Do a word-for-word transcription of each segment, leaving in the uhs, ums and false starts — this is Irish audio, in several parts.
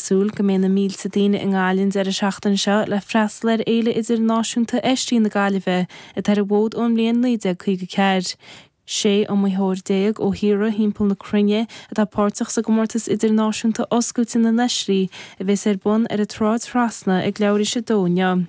súil go mbeidh na mílte daoine i nGaillimh an deireadh seachtaine seo le freastal ar Fhéile Idirnáisiúnta Oistrí na Gaillimhe atá ar an bhfód ón mbliain naoi déag caoga ceathair. Sé iomaitheoir déag ó thíortha thimpeall na cruinne atá páirteach sa gcomórtas idirnáisiúnta oscailte na n-oistrí a bheas ar bun ar an tSráid Thrasna ag leathuair tar éis a dó inniu.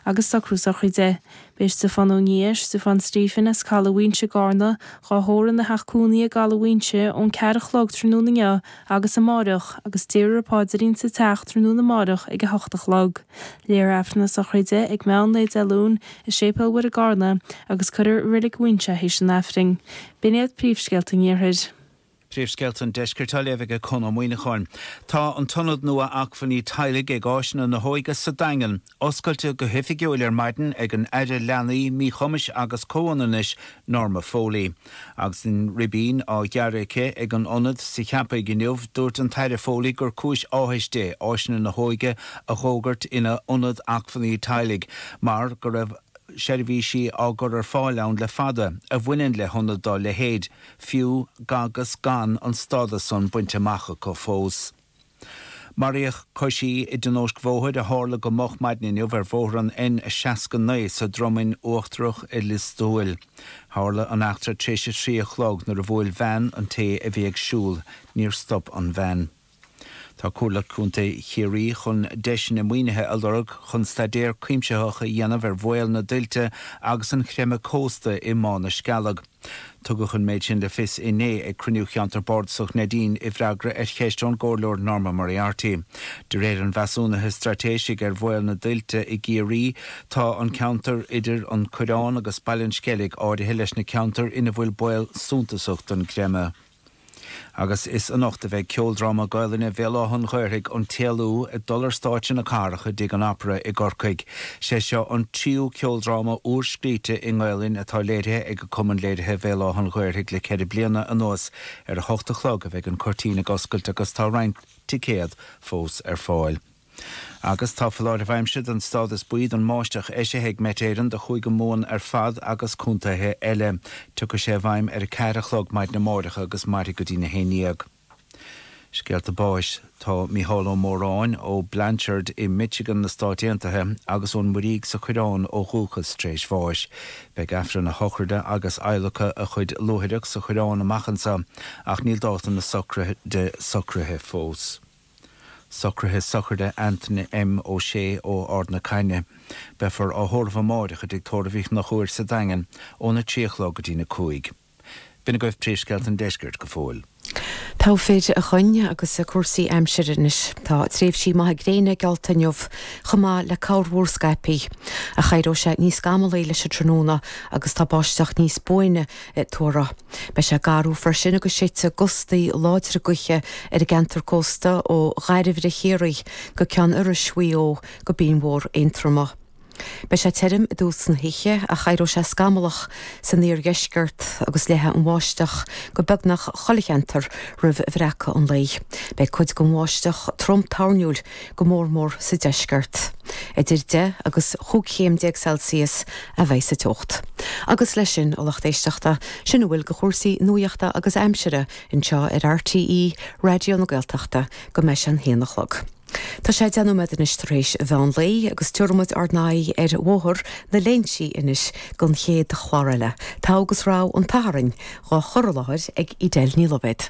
Agus socrú sochraide. Beidh Stiofán Ó Nia, Stiofán Stephen as Caladh Mhaínse i gCarna, dhá thórramh ina theach cónaí i gCaladh Mhaínse ón ceathair a chlog tráthnóna inniu agus amáireach agus déarfar an paidrín sa teach tráthnóna amáireach ag a hocht a chlog. Léifear Aifreann na sochraide ag meán lae Dé Luain i Séipéal Mhuire i gCarna agus cuirfear i Reilig Mhaínse théis an Aifrinn. B'in iad príomhscéalta an Iarthair. Príomhscéalta an Deiscirt á léamh ag Conn Ó Muíneacháin. Tá an tIonad nua Acmhainní Teaghlaigh ag Áiseanna na hÓige sa Daingean oscailte go hoifigiúil ar maidin ag an Aire Leanaí, Míchumais agus Comhionannais, Norma Foley. Agus an ribín á ghearradh aici ag an ionad sa Cheapaigh inniu, dúirt an tAire Foley gur cúis áthais di Áiseanna na hÓige a dh'fhógairt ina Ionad Acmhainní Teaghlaigh mar go raibh seirbhísí á gcur ar fáil ann le fada a bhaineann le hionad dá leithéid, fiú agus gan an stádas san bainte amach acu fós. Maraíodh coisí i dtionóisc bhóthair a tharla go moch maidin inniu ar bhóthar an N seasca naoi sa Dromainn Uachtarach i Lios Tuathail. Tharla an eachtra tar éis a trí a chlog nuair a bhuail veain an té a bhí ag siúl. Níor stop an veain. Tá Comhairle Contae Chiarraí chun deiseanna maoinithe a lorg chun staidéar cuimsitheach a dhéanamh ar bhaol na dtuilte agus an chreimeadh cósta i mBá na Scealg. Tugadh an méid sin le fios inné ag cruinniú Cheantar Bardasach Neidín i bhfreagra ar cheist ón gComhairleoir Norma Moriarty. De réir an mheasúnaithe straitéisigh ar bhaol na dtuilte i gCiarraí, tá an ceantar idir an Coireán agus Baile an Sceilg áirithe leis na ceantair ina bhfuil baol suntasach don gcreimeadh. Agus is anocht a bheidh ceoldráma Gaelainne Bhéal Átha an Ghaorthaidh, An tÉalú, ag dul ar stáitse na cathrach i dTigh an Opera i gCorcaigh. Sé seo an tríú ceoldráma úr-scríte i nGaelainn atá léirithe ag Cumann Léirithe Bhéal Átha an Ghaorthaidh le ceithre bliana anuas. Ar a hocht a chlog a bheidh an cuirtín ag oscailt agus tá roinnt ticéad fós ar fáil. Agus tá foláireamh aimsire den stádas buí don mbáisteach eisithe ag Met Éireann do Chúige Mumhan ar fad agus contaetha eile. Tiocfaidh sé i bhfeidhm ar a ceathair a chlog maidin amáireach agus mairfidh go dtí a haon dhéag. Scéalta báis Tá Mícheál Ó Móráin ó Blanchard i Michigan na Stáit Aontaithe agus ón Muirígh sa Choireán ó dhúchas tar éis bháis. Beidh Aifreann a shochraide agus adhlacadh a chuid luaithreach sa Choireán amach anseo ach níl dáta na sochraide socraithe fós. Socruithe sochraide Anthony M. Ó Sé ó Ard na Caithne. Beifear á thórramh amáireach i dTigh Tórraimh Uí Chonchúir sa Daingean óna trí a chlog go dtína cúig. B'in agaibh príomhscéalta an deiscirt go fóill. Togha fir a Choinn agus cúrsaí aimsire anois. Tá tréimhsí maithe gréine geallta inniu chomh maith le corrmhúr scaipthe. Ach éireoidh sé níos scamallaí leis an tráthnóna agus tá báisteach níos buaine tuartha. Beidh sé garbh freisin agus séidfidh gustaí láidre gaoithe ar an gceantar cósta ó Dhairbhre Chiarraí go Ceann Iorrais Mhaigh Eo go Binn Mhór Aontroma. Beidh sé tirim i dtús na hoíche ach éireoidh sé scamallach san iardheisceart agus leathfaidh an bháisteach go beagnach chuile cheantar roimh bhreacadh an lae. Beidh cuid den bháisteach trom toirniúil, go mór mór sa deisceart. Idir deich agus chúig chéim déag Celsius a bheidh sa teocht. Agus leis sin, a lucht éisteachta, sin a bhfuil de chúrsaí nuachta agus aimsire anseo ar RTÉ Raidió na Gaeltachta go mbeidh sé an haon a chlog. Tá sé deich nóiméad anois tar éis mheán lae agus tabharfaidh muid ár n-aghaidh ar Bhóthar na Léinsí anois don chéad chlár eile, Togha agus Rogha an tSathairn, dhá chur i láthair ag Edel Ní Loibhéad.